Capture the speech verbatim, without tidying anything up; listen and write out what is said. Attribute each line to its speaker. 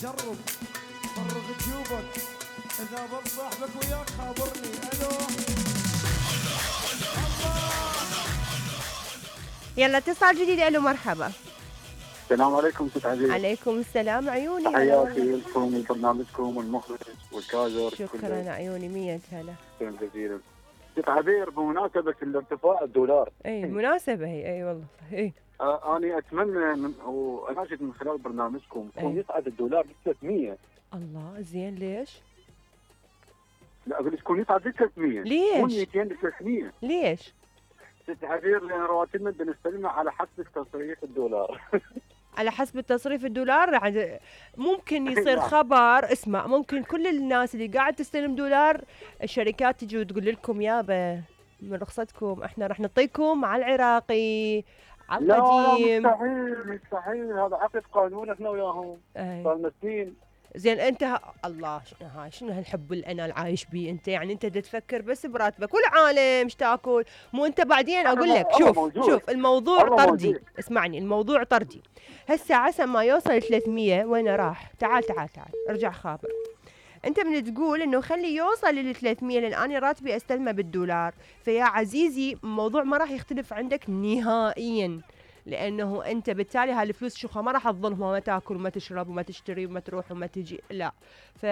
Speaker 1: جرب فرغ جيوبك، اذا ضل صاحبك وياك خابرني. الو
Speaker 2: يلا اتصال جديد. الو مرحبا.
Speaker 3: السلام عليكم ست عزيز.
Speaker 2: عليكم السلام عيوني.
Speaker 3: تحياتي لكم وبرنامجكم والمخرج والكادر.
Speaker 2: شكرا عيوني. مية هلا.
Speaker 3: شكرا جزيلا. ست عبير، بمناسبة الارتفاع الدولار.
Speaker 2: اي مناسبة هي. اي والله اي.
Speaker 3: آه انا اتمنى من واناشد من خلال برنامجكم يكون يصعد الدولار ل ثلاثمية.
Speaker 2: الله زين. ليش؟
Speaker 3: لا اقول يكون يصعد ل ثلاثمية.
Speaker 2: ليش؟
Speaker 3: يكون مئتين ل ثلاثمية.
Speaker 2: ليش؟
Speaker 3: ست عبير لان رواتبنا بنستلمها على حسب تصريف الدولار.
Speaker 2: على حسب التصريف الدولار. ممكن يصير خبر. اسمع، ممكن كل الناس اللي قاعد تستلم دولار الشركات تجي وتقول لكم يابا من رخصتكم احنا راح نعطيكم على العراقي على القديم.
Speaker 3: لا مستحيل مستحيل، هذا عقد قانون احنا وياهم صار لنا سنين.
Speaker 2: زين انت ه... الله هاي شنو هالحب اللي انا العايش بيه انت؟ يعني انت تفكر بس براتبك والعالم ايش تاكل. مو انت بعدين اقول لك شوف موجود. شوف الموضوع طردي موجود. اسمعني الموضوع طردي. هسه عسى ما يوصل ثلاثمية وين راح؟ تعال تعال تعال ارجع خابر. انت من تقول انه خلي يوصل لل ثلاثمية لان انا راتبي استلمه بالدولار. فيا عزيزي الموضوع ما راح يختلف عندك نهائيا، لانه انت بالتالي هالفلوس شو ما راح تظلهم وما تاكل وما تشرب وما تشتري وما تروح وما تجي. لا ف